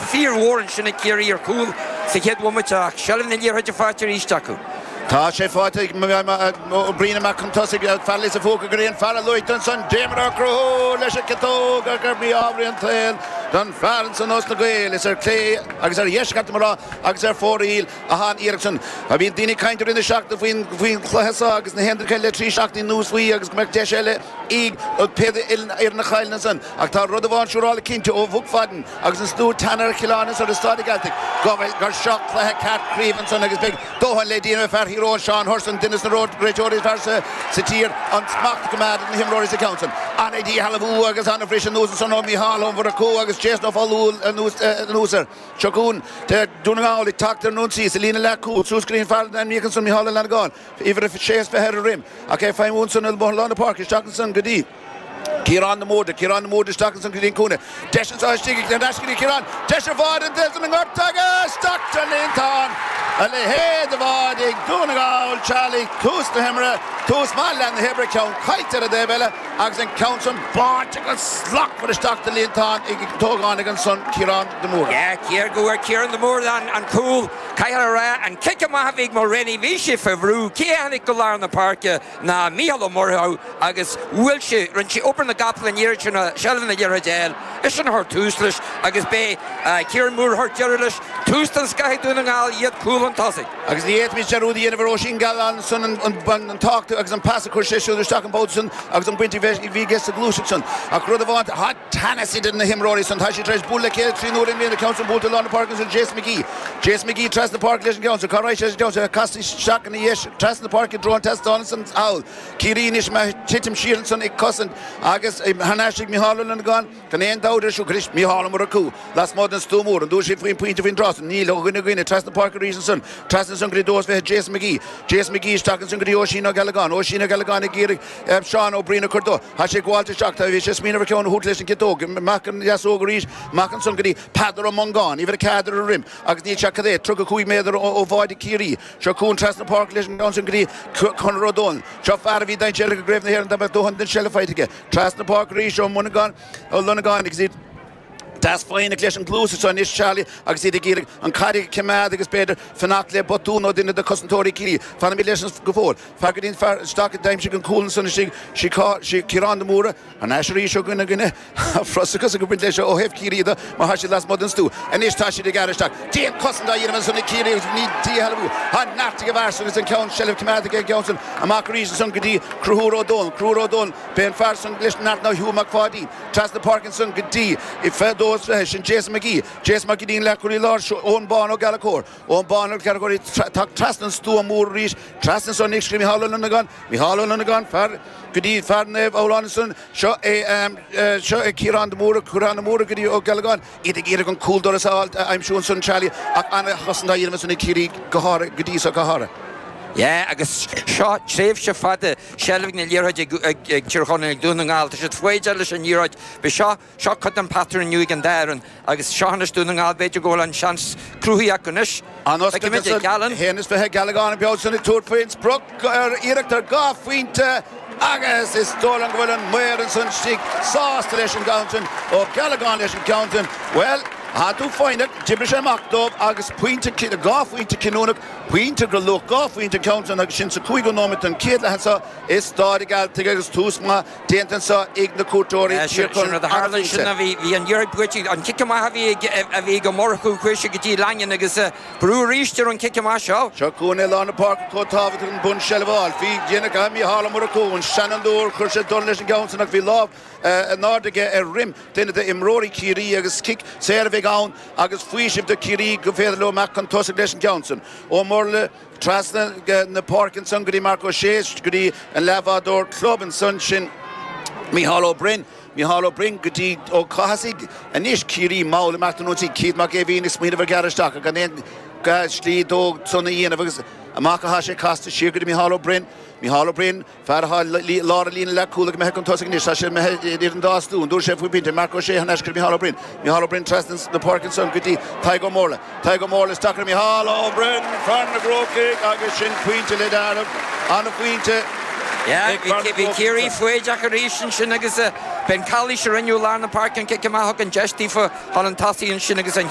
fíormhór ansin ag Ciarraí ar chúl sa chéad bhomaite ach seilbh na liathróide faighte arís acu. Tá sé faighte ag Ó Briain amach chun tosaigh, fear Lios an Phúca go dtí an fear a luaigh tú ansan, Diarmuid Ó Conchúir leis an gciotóg ach ar mhí-ádh an tsaoil don fear ansan ós na Gaeil. Is ar clé agus ar dheis, caithfidh mé a rá, agus ar fóraoil atá an iarracht san. Bhí daoine ag caint i rith na seachtaine faoin chluiche seo agus na haon duine le 3 seachtainí anuas faoi agus go mbeadh deis eile ag pé fhoireann a chailleann ansan. Ach tá rud amháin siúráilte cinnte ó Mhac Phaidin agus an slua teannadh ar Chill Airne ansan i Staid an Ghealtaigh go bhfuil gur seo cluiche ceart craoibhe ansan agus beidh dóthain le déanamh ag fear Thír Eoghain, Seán Hurson, duine de na réiteoirí is fearr sa tír, an smacht a choimeád ar na himreoirí sa cheann san. Ana-dhíshealbhú agus ana-bhriseadh anuas ansan ó Mhícheál Ó Murchú agus Jason Ó Foghlú anuas air. Seo chugainn Dún na nGall ag teacht ar an ionsaí sa líne leathchúil suas go dtí an fear a ainmníodh ansan Mícheál Ó Fhlannagáin, uimhir a sé is 20 ar a dhroim ach é ag feidhmiú ansan i lár na páirce isteach ansan go dtí Ciarán de Mórdha, Ciarán de Mórdha isteach ansan go dtí an cúinne. Deis anseo istigh ag ar ais go dtí Ciarán. Deis ar bháide an duine san i ngort agus isteach sa líontán. A leithéid de bháide ag Dún na nGall, Charlie, tús na himeartha, tús maith leath na hoibre, ceann caillte ar an dtaobh eile agus an ceann san báite go slachtmhar isteach sa líontán ag an t-ógánach ansan, Ciarán de Mórdha. Yeah, céard go bhfuair Ciarán de Mórdha an cúl, caithfear a rá, an cic amach a bhí ag Mulraney, bhí sé fé bhrú, cé a tháinig go lár na páirce? ná Mícheál Ó Murchú agus bhuail sé, rinne sé obair na gcapall an iarraidh sin seilbh na liathróide a fháil, eisean a chuir tús leis agus b'é Ciarán Moore a chuir deireadh leis, tús den scoth ag Dún na nGall, iad cúl chun tosaigh. Agus ní fhéadfaimis dearúd a dhéanamh ar Oisín Gallen ansan an tábhacht agus an pas a chuir sé siúd isteach an babhta san agus an baint a bhí aige sa ghluaiseacht san. Ach rud amháin, tá teannas idir na himreoirí san, tá siad tar éis bualadh le chéile 3 n-uaire i mbliana, ceann san buailte i lár na páirce ansan Jason McGee. Jason McGee trasna páirce leis an gceann san, cá raghaidh sé leis an gceann san, casta isteach ina dheis trasna páirce i dtreo an tseastáin ansan thall. Ciarraí anois ag titim siar ansan ag cosaint agus thar n-ais ag Micheál Ó Longáin gan aon dabht ar siúl. Anois Micheál Ó Murchú lasmuigh den stua mór. An dtabharfaidh siad faoin bpointe faoin dtráth san? Níl. Ó dhuine go dhuine trasna páirce arís ansan. Trasna ansan go dtí 22 Jason McGee. Jason McGee isteach ansan go dtí Oisín Ó Gealagáin. Oisín Ó Gealagáin ag iarraidh Seán Ó Briain a chur dó. Tá sé ag gabháilt isteach. Tá bhí sé ag smaoineamh ar cheann a thabhairt leis an gciotóg. Amach an dheasóg arís. Amach ansan go dtí Peadar Ó Mongáin, uimhir 4 ar a dhroim agus níl sé ach cad é, 35 méadar ó bháide Chiarraí. Seo chugainn trasna páirce leis an gceann sin go dtí Conor Ó Dónaill. Seo fear a bhí dainséarach i gCraobh na hÉireann dá mbeadh dóthain den seilbh faighte aige. Trasna páirce arís Ó Mongáin, Ó Longáin agus iad deas foighneach leis an gcluas anseo anois Charlie agus iad ag iarraidh an caid a choimeád agus b'fhéidir fanacht le botún ó duine de chosantóirí Chiarraí. Fanaimid leis go fóill. Fear go dtí an fear isteach a d'aimsigh an cúl ansan istigh, Ciarán de Mórdha. Thar n-ais arís ó dhuine go duine. Tá frustrachas ag baint leis ó thaobh Chiarraí de mar tá siad lasmuigh den stua. Anois tá siad ag gearradh isteach. Dian-chosaint á dhéanamh ansan ag Ciarraí agus ní díshealbhú. Tá neart ag an bhfear san agus an ceann seilbh coimeádta aige an ceann san. Amach arís ansan go dtí Conchúr Ó Dónaill. Conchúr Ó Dónaill. B'é an fear san leis an neart ná Hugh Mac Pháidín. Trasna páirce ansan go dtí 22 sin Jason McGee. Jason McGee an leathchúlaí láir seo Eoin Bán Ó Gallchóir. Eoin Bán Ó Gallchóir ag teacht trasna an stua mór arís. Trasna ansan anois go dtí Micheál Ó Longáin. Micheál Ó Longáin fear go dtí fear Naomh Abhlán ansan. Seo é seo é Ciarán de Mórdha, Ciarán de Mórdha go dtí Ó Gealagáin, iad ag iarraidh an cúldoras a fháil, a aimsiú ansan Charlie, ach an-chosaint á dhéanamh ansan ag Ciarraí go háirithe, go dtí so go háirithe. Yeah, agus seo tréimhse fada seilbh na liathróide ag Tír Chonaill, ag Dún na nGall. Tá siad foighdeach leis an liathróid. B'é seo Seo cuid den patrún inniu ag an dá fhoireann agus seo anois Dún na nGall, b'fhéidir go bhfuil an seans cruthaithe acu anois. An oscailt ansan, 21 Gealagán an babhta san ag tabhairt faoin sprioc ar iarracht ar dhá phointe agus is dóigh liom go bhfuil an maor ansan istigh sásta leis an gceann sin. Ó Gealagán leis an gceann sin. Bhuel, tá tú foighneach, d'oibrigh sé amach dóibh agus pointe, dhá phointe cinniúnach, pointe de luach dhá phointe an ceann sin agus sin sa cúigiú nóiméad den chéad leath anseo i Stáid an Ghealtaigh agus tús maith Déanta anseo ag na cuairteoirí, Tír Chonaill Sin rud a tharla ansin ná bhí an liathróid buaite, an cic amach a bhí ag a bhí ag Ó Murchú, chuaigh sé go dtí Langan agus brú arís ar an cic amach seo. Seo chugainn i lár na páirce chomh tábhachtach an bunseilbh a fháil. Bhí déanach ag Mícheál Ó Murchú, an seanfhondúir, chuir sé dorn leis an gceann san ach bhí lámh in airde aige ar dhroim duine d'imreoirí Chiarraí agus cic saor a bheidh ann agus faoiseamh do Chiarraí go féidir leo imeacht chun tosaigh leis an gceann san. Ó Murlaigh. Trasna na páirce ansan go dtí Marc Ó Sé, go dtí an leathbhádóir club ansan, sin Mícheál Ó Broin. Mícheál Ó Broin go dtí Ó Cathasaigh. Anois Ciarraí mall ag imeacht ar ionsaí. Keith Mac Aoibhín ag smaoineamh ar ghearradh isteach ach gan aon slí dó san a dhéanamh agus amach atá sé casta siar go dtí Mícheál Ó Broin. Mícheál Ó Broin. Fear atá i lár an líne leathchúil ag imeacht chun tosaigh anois. Tá sé imithe idir an dá stua. An dtabharfaidh sé faoin bpointe? Marc Ó Sé thar n-ais go dtí Micheál Ó Broin. Micheál Ó Broin trasna na páirce ansan go dtí Tadhg Ó Mórlaith. Tadhg Ó Mórlaith isteach ar Micheál Ó Broin, fear na gCrócaigh agus sin pointe le dealramh. An-phointe ag fear na Bhí Ciarraí foighdeach arís ansin agus b'in calaois a rinneadh i lár na páirce an cic amach thug an deis daofa chun an tosaigh ansin agus an.